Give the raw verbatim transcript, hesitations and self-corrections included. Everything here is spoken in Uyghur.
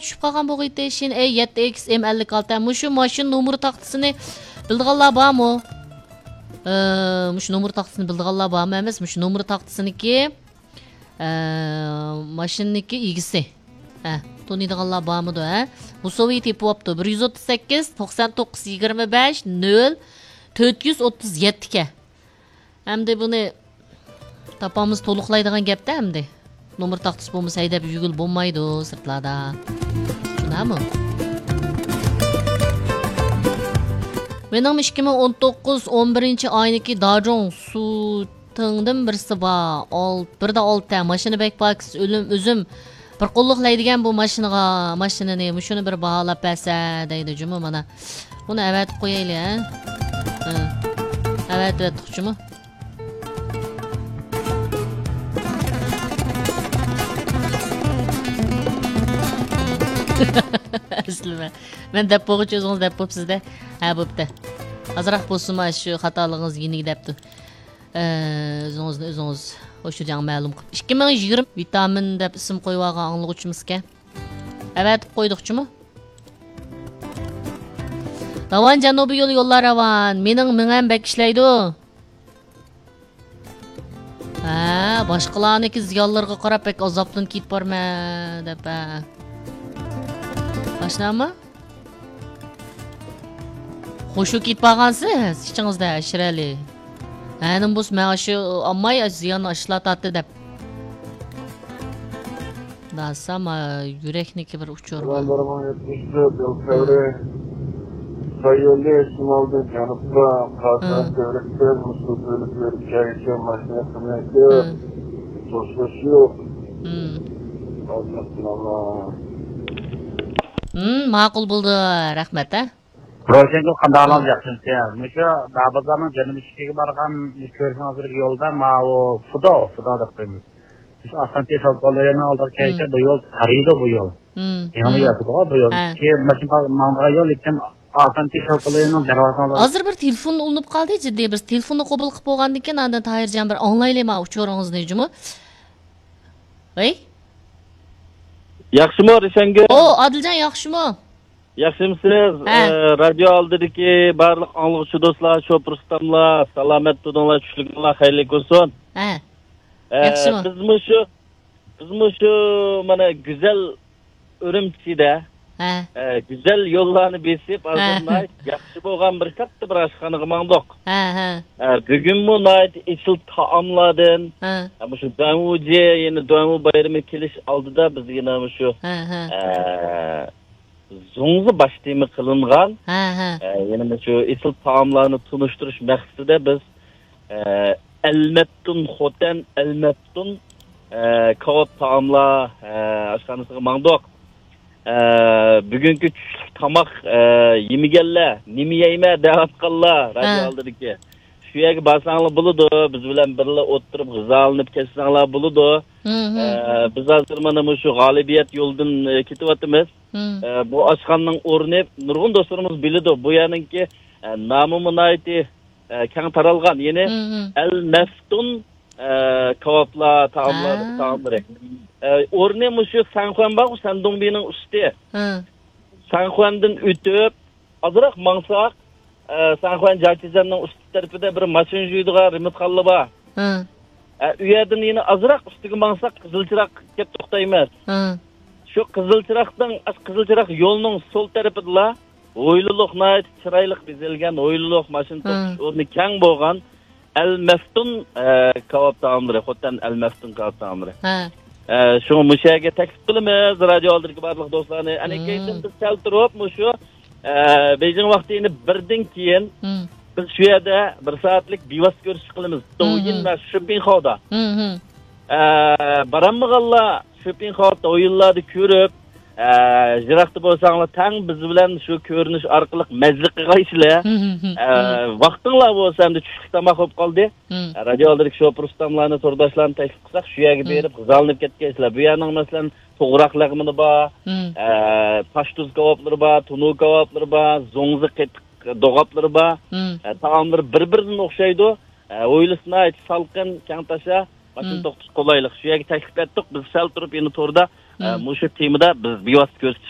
چۈشۈپ قالغان بولغىيتى. شىن ئەي يەتتە ئېكس ئېم ئەللىك ئالتە. مۇشۇ ماشىنا نومۇر تاختىسىنى بىلىدىغانلار بارمۇ؟ ئە، مۇشۇ نومۇر تاختىسىنى بىلىدىغانلار بارمۇ ئەمەس؟ مۇشۇ نومۇر تاختىسىنىڭكى، ئە، ماشىنىنىڭكى ئىگىسى. ھە، تونۇيدىغانلار بارمىدۇ، ھە؟ مۇسوۋى تېپىۋاپتۇ. بىر يۈز ئوتتۇز سەككىز، توقسان توققۇز، يىگىرمە بەش، نۆل، تۆت يۈز ئوتتۇز يەتتە ئىكەن. ئەمدى بۇنى تاپامىز، تولۇقلايدىغان گەپتە ئەمدى. نومۇر تاختىسى بولمىسا ھەيدەپ يۈرگىلى بولمايدۇ سىرتلاردا. شۇنداقمۇ؟ مېنىڭمۇ ئىككى مىڭ ئون توققۇز ئون بىرىنچى ئاينىكى داجۇڭ سۇتىڭدىن بىرسى بار. ئال-، بىردە ئالتە. ماشىنا بەك پاكىز. ئۆلۈم، ئۆزۈم بىر قوللۇق ھەيدىگەن بۇ ماشىنىغا، ماشىنىنى. مۇشۇنى بىر باھالاپ بەرسە دەيدۇ جۇمۇ مانا. بۇنى ئەۋەتىپ قويايلى، ھە؟ ھە. ئەۋەتىۋەتتۇق جۇمۇ. ئەسلىمە. مەن دەپ بولغۇچە ئۆزىڭىز دەپ بوپسىز-دە. ھە، بوپتۇ. ئازراق بولسىمۇ شۇ خاتالىقىڭىز يېنىگە دەپتۇ. ئە، ئۆزىڭىزنى ئۆزىڭىز ھوشۇجاڭ مەلۇم قىلىپ. ئىككى مىڭ يىگىرمە ۋىتامىن دەپ ئىسىم قويۇۋالغان ئاڭلىغۇچىمىزكەن. ئەۋەتىپ قويدۇقچىمۇ؟ راۋان جەنۇبىي يول، يوللار راۋان. مېنىڭ مېڭەم بەك ئىشلەيدۇ. ھە، باشقىلارنىڭكى زىيانلىرىغا قاراپ بەك ئازابلىنىپ كېتىپ بارمەن دەپ، ھە. ئاشۇنداقمۇ؟ خۇشۇ كېتىپ بارغانسىز ئىچىڭىزدە، ئەشرەلى. ھە، نېمە بولسا مەن ئاشۇ ئالماي، ئاشۇ زىياننى ئاشۇلار تارتتى دەپ. داسا، ما، يۈرەكنىكى بىر ئۇچۇر بار. بىر مىڭ يەتمىش تۆت يىل فېۋرى. خىتاي يولى شىمالدىن جەنۇبقا، قازان ھە. تۈۋرۈكتىن، مۇسۇل تۈۋرۈكلىرى كەيسە ماشىنا قىممىتى. ھە. توسۇش يوق. ھىم. ھىم، ماقۇل بولدى. رەھمەت، ھە. روشەنگۈل، قانداق ھالىڭىز، ياخشىمۇسىز؟ مۇشۇ دابازارنىڭ جەنۇبىي چېكىگە بارغان كۆرۈشىڭىزدىكى يولدا ماۋۇ فۇدو، فۇدو دەپ قويىمىز. مۇشۇ ئاسانتى شاۋقۇنلىرىنىڭ ئالدىغا كەلسە، بۇ يول تارىيدۇ، بۇ يول. يېڭى ياتىدىغۇ بۇ يول. ھە. كېيىن ماشىنا ماڭىدىغان يول، لېكىن ئاسانتى شاۋقۇنلىرىنىڭ دەرۋازىسىنىڭ ئالدىدا. ھازىر بىر تېلېفون ئۇلىنىپ قالدى، جىددىي بىر تېلېفوننى قوبۇل قىلىپ بولغاندىن كېيىن، ئاندىن تاھىرجان بىر ئاڭلايلى ما ئۇچۇرىڭىزنى جۇمۇ. ۋەي. ياخشىمۇ، رىشەنگۈل؟ ئو، ئادىلجان، ياخشىمۇ؟ ياخشىمۇسىز؟ ھە. ئە، رادىيو ئالدىدىكى بارلىق ئاڭلىغۇچى دوستلار، شوپۇر ئۇستاملار، سالامەت تۇرۇڭلار، چۈشلۈكۈڭلار خەيرلىك بولسۇن. ھە. ئە، ياخشىمۇ؟ بىز مۇشۇ، بىز مۇشۇ مانا گۈزەل ئۈرۈمچىدە، ھە. ئە، گۈزەل يوللارنى بېسىپ، ھە. ھازىر ناھايىتى ياخشى بولغان بىر كاتتا بىر ئاشخانىغا ماڭدۇق. ھە، ھە. ئە، بۈگۈنمۇ ناھايىتى ئېسىل تائاملاردىن، ھە. ئە، مۇشۇ دۇەنۋۇجى، يەنە دۇەنۋۇ بايرىمى كېلىش ئالدىدا بىز يەنە مۇشۇ، ھە، ھە. ئە، زۇڭزى باش تېما قىلىنغان، ھە، ھە. ئە، يەنە مۇشۇ ئېسىل تائاملارنى تونۇشتۇرۇش مەقسىتىدە بىز، ئە، ئەلمەپتۇن خوتەن، ئەلمەپتۇن، ئە، كاۋاپ تائاملار، ئە، ئاشخانىسىغا ماڭدۇق. ئە، بۈگۈنكى چۈشلۈك تاماق، ئە، يېمىگەنلەر، نېمە يەيمەن دەۋاتقانلار، ھە. رادىيو ئالدىدىكى. شۇ يەرگە بارساڭلار بولىدۇ، بىز بىلەن بىرلا ئولتۇرۇپ غىزالىنىپ كەتسەڭلار بولىدۇ. ھىم، ھىم. ئە، بىز ھازىر مانا مۇشۇ غالىبىيەت يولىدىن، ئە، كېتىۋاتىمىز. ھىم. ئە، بۇ ئاشخانىنىڭ ئورنى نۇرغۇن دوستلىرىمىز بىلىدۇ. بۇ يەرنىڭكى، ئە، نامىمۇ ناھايىتى، ئە، كەڭ تارالغان. يەنى ھىم، ھىم. ئەل مەفتۇن، ئە، كاۋاپلار، تائاملار، ھە. تائاملىرى. ئە، ئورنى مۇشۇ سەنخۇەن بارغۇ، سەندۇڭبىنىڭ ئۈستى. ھە. سەنخۇەندىن ئۆتۈپ، ئازراق ماڭساق، ئە، سەنخۇەن جاچىزەننىڭ ئۈستى تەرىپىدە بىر ماشىنا يۇيىدىغان رېمونتخانا بار. ھە. ئە، ئۇ يەردىن يەنە ئازراق ئۈستىگە ماڭساق، قىزىل چىراغ كەپ توختايمىز. ھە. شۇ قىزىل چىراغدىن، ئاشۇ قىزىل چىراغ يولنىڭ سول تەرىپىدىلا ھويلىلىق، ناھايىتى چىرايلىق بېزەلگەن ھويلىلىق، ماشىنا ھە. توختىتىش ئورنى كەڭ بولغان ئەل مەفتۇن، ئە، كاۋاپ تائاملىرى، خوتەن ئەل مەفتۇن كاۋاپ تائاملىرى. ھە. ئە، شۇڭا مۇشۇ يەرگە تەكلىپ قىلىمىز، رادىيو ئالدىدىكى بارلىق دوستلارنى. ئەنە مم. كەينىدىن بىز سەل تۇرۇپ، مۇشۇ، ئە، بېيجىڭ ۋاقتى يەنە بىردىن كېيىن مم. بىز شۇ يەردە بىر سائەتلىك بىۋاسىتە كۆرۈشۈش قىلىمىز. مم. دوۋيىن ۋە شىپىنخاۋدا. مم. ئە، بارالمىغانلار شىپىنخاۋ دوۋيىنلاردا كۆرۈپ، ئە، يىراقتا بولساڭلار تەڭ بىز بىلەن شۇ كۆرۈنۈش ئارقىلىق مەززە قىلغايسىلەر. مم. ئە، ۋاقتىڭلار بولسا ئەمدى چۈشلۈك تاماق بولۇپ قالدى. مم. ئە، رادىيو ئالدىدىكى شوپۇر ئۇستاملارنى، تورداشلارنى تەكلىپ قىلساق، شۇ يەرگە مم. بېرىپ غىزالىنىپ كەتكەيسىلەر. بۇ يەرنىڭ، مەسىلەن، توغراق لەغمىنى بار، مم. ئە، تاشتۇز كاۋاپلىرى بار، تونۇر كاۋاپلىرى بار، زوڭزا قېتىق دوغاپلىرى بار. مم. ئە، تائاملىرى بىر-بىرىدىن ئوخشايدۇ. ئە، ھويلىسى ناھايىتى سالقىن، كەڭ تاشا، ماشىنا مم. توختىتىش قولايلىق. شۇ يەرگە تەكلىپ ئەتتۇق. بىز سەل تۇرۇپ يەنە توردا، ئە، مم. مۇشۇ تېمىدا بىز بىۋاسىتە كۆرۈشۈش